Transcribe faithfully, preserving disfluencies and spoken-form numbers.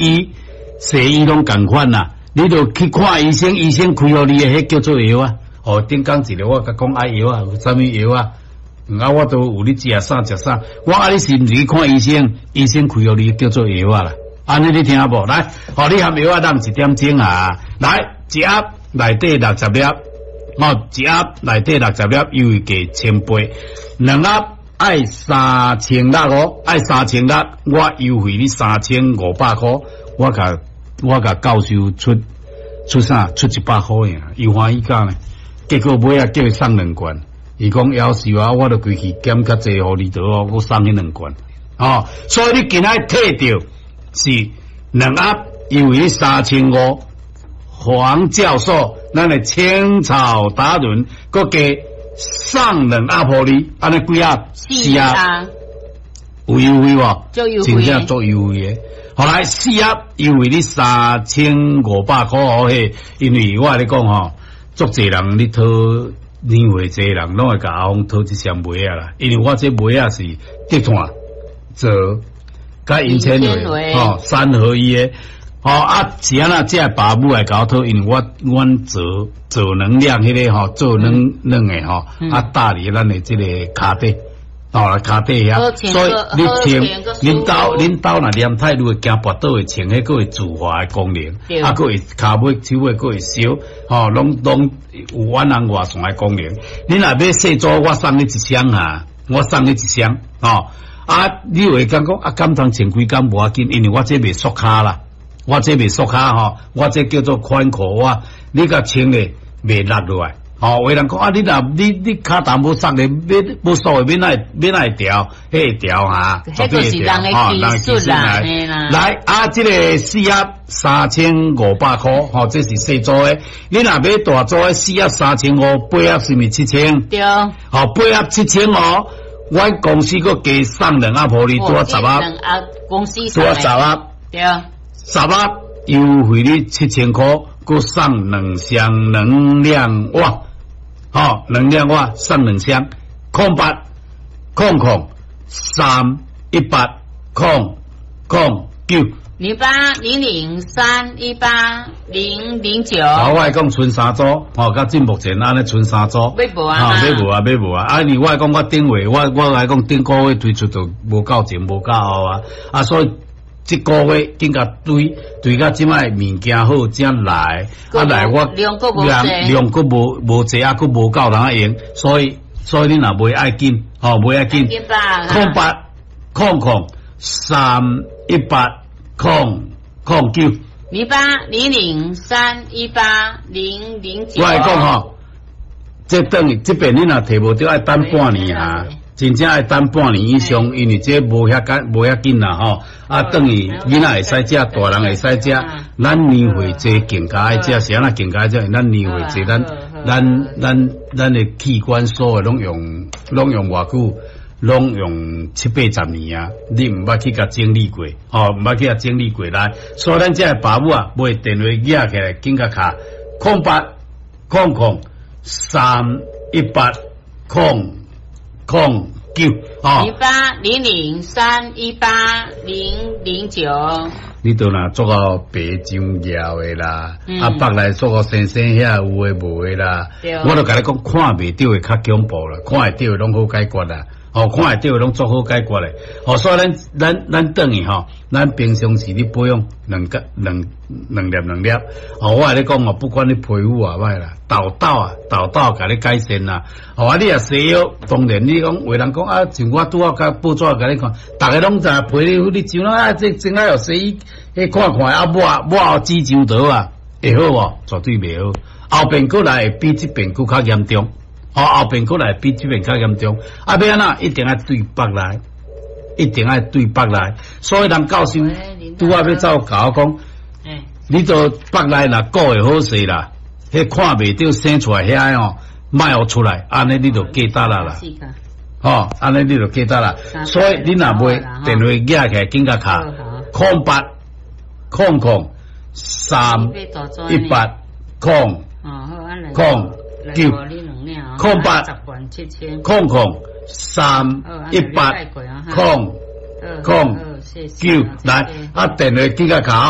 醫西醫攏仝款啦。你著去看醫生，醫生開予你的，彼叫做藥啊。哦，頂工一个我共講愛藥啊，有啥物藥啊？啊，我都有咧食啥食啥。我啊，你是毋是去看醫生？醫生開予你叫做藥啊啦。按呢你聽無？來，予你含藥仔人一點鐘啊。來，一盒內底六十粒，哦，一盒內底六十粒，優惠價千八，兩盒愛三千六哦，愛三千六，我優惠你三千五百箍，我共我共教授出出啥？出一百箍爾，伊歡喜甲呢？結果尾仔叫伊送兩罐，伊講夭壽啊，我著規氣減較濟予你得哦，我送彼兩罐，哦，所以你今仔提著是兩盒優惠三千五，黃教授，咱的青草達人，閣加送兩盒予你，按呢幾盒？四盒，有優惠無？足優惠，真正足優惠的。後來四盒優惠你三千五百箍哦嘿，因為我共你講吼，足濟人咧討年歲濟人，攏會共阿峰討這箱襪仔啦。因為我這襪仔是竹炭做佮銀纖維吼三合一的。吼啊是按怎這爸母來共我討，因為我阮做做能量彼个吼做軟軟的吼，啊搭佇咱的這个跤底。哦，跤底遐，所以你穿，恁兜恁兜若黏太愈會驚跋倒會穿，彼閣會自滑的功能，啊，閣會跤尾手尾閣會燒，吼，攏攏有遠紅外線的功能。你若買細組，我送你一箱啊，我送你一箱，吼，啊，你會感覺啊，敢通穿幾工無要緊，因為我這袂縮跤啦，我這袂縮跤吼，我這叫做寬褲襪，你共穿咧袂落落來。哦，有人講啊，你若你你跤頭無縮咧，欲無縮的，欲哪會欲哪會調？彼會調哈，彼個是人的技術啦，來啊，這个四盒三千五百箍，吼，這是細組的。你若買大組的，四盒三千五，八盒是毋是七千？對。吼，八盒七千哦，阮公司閣加送兩盒予你，拄十盒。兩盒公司拄十盒。對。十盒優惠你七千箍，閣送兩箱能量襪。吼，能量襪送兩箱，空八空空三一八空空九零八零零三一八零零九。好，我來講賰三組，吼，到這目前按呢賰三組，買無啊？買無啊？買無啊？啊，因為我來講，我頂月我我來講頂個月推出就無夠前，無夠後啊，啊，所以這個月緊共堆堆到這擺物件好才來，啊來我量閣無量量閣無無濟啊，閣無夠人用，所以所以你若買愛緊，吼買愛緊，空八空空三一八空空九零八零零三一八零零九。我來講吼，這等於這邊你若提無著愛等半年啊。真正愛等半年以上，因為這無遐緊，無遐緊啦吼。啊，等於囡仔會使食，大人會使食。咱年歲濟更加愛食，是按怎更加愛食？咱年歲濟，咱咱咱咱的器官所有攏用攏用偌久？攏用七八十年啊！你毋捌去共整理過，吼，毋捌去共整理過來。所以咱這个爸母啊，買電話舉起來，緊共敲空八空空三一八空空九，哦，零八零零三一八零零九。你都若做到白上業的啦，啊，腹內做到生生遐有的無的啦，我都共你講，看袂著的較恐怖啦，看會著的攏好解決啦。哦，看會著的攏足好解決的。哦，所以咱咱咱轉去吼，咱平常時咧保養兩個兩兩粒兩粒。哦，我共你講哦，不管你皮膚偌歹啦，痘痘啊，痘痘共你改善啦。哦，啊，你若西藥，當然你講有人講啊，像我拄仔共報紙共你看，逐个攏知影皮膚你上啊，這真愛有西醫彼看看啊，抹抹紫上桃啊，會好無？絕對袂好。後邊閣來會比這邊閣較嚴重。哦，後邊閣來比這邊較嚴重。啊，欲按怎？一定愛對腹內，一定愛對腹內。所以人教授拄仔欲走共我講，你都腹內若顧會好勢啦，彼看袂著生出來遐吼，莫予出來，按呢你就過得啦啦。吼，按呢你就過得啦。所以你若買電話舉起來，緊共敲空八空空三一八空空九空八空空三一八空空九來啊，電話記甲卡。